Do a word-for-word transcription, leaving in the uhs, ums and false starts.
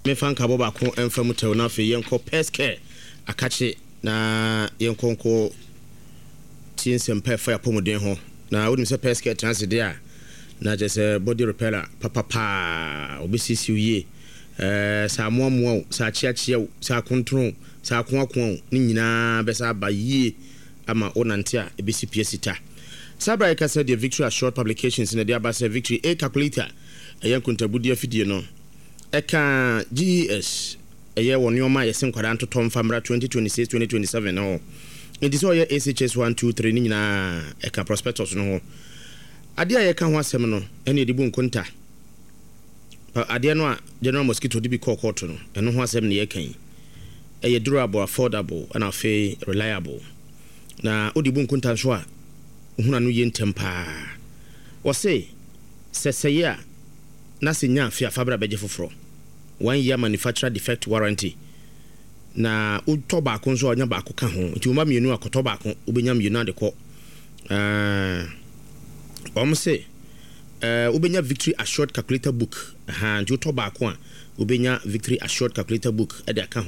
Mefa nkabɔ baako mfa mu tɛw, na afei yɛnkɔ Pɛskɛ akakye na yɛnkɔ nkɔ tie nsɛmpa ɛfa apɔmuden ho. Na wonim sɛ Pɛskɛ tena ase deɛ a, na kyerɛ sɛ body repeller papapaa obɛsiesie wo yie. ɛɛ sɛ amoamoa wo, sɛ akyeakyea wo, sɛ akontoro wo, sɛ akoakoa wo ne nyinaa bɛsa aba yie ama wo nante a ɛbɛsi pia sita. Saa bra yɛka sɛ deɛ Victory Assured Publications na ɛde aba sɛ Victory A calculator, ɛyɛ nkontabudi afidie no, ɛka G E S ɛyɛ wɔ nneɛma a yɛsɛ nkwadaa ntotɔ mfa mmra twenty twenty-six twenty twenty-seven no ho. Nti sɛ ɔyɛ S H S one two three ne nyinaa ɛka prospectus no ho. Adeɛ a yɛka ho asɛm no ɛne yɛde bu nkonta. Adeɛ no a General Mosquito de bi kɔɔ kɔɔto no, ɛno ho asɛm ne yɛka yi. Ɛyɛ durable, affordable, ɛna afei reliable, na wode bu nkonta nso a wohuna no yie ntɛm paa. Wɔse sɛ sɛyɛ a na sɛ nya afe a fabra bɛgye foforɔ, one year manufacturer defect warranty, na wotɔ baako nso a ɔnya baako ka ho. Nti woma mmienu akɔtɔ baako, wobɛnya mmienu ade kɔ. Wɔn se wobɛnya Victory Assured calculator book. Nti wotɔ baako a, wobɛnya Victory Assured calculator book ɛde aka ho.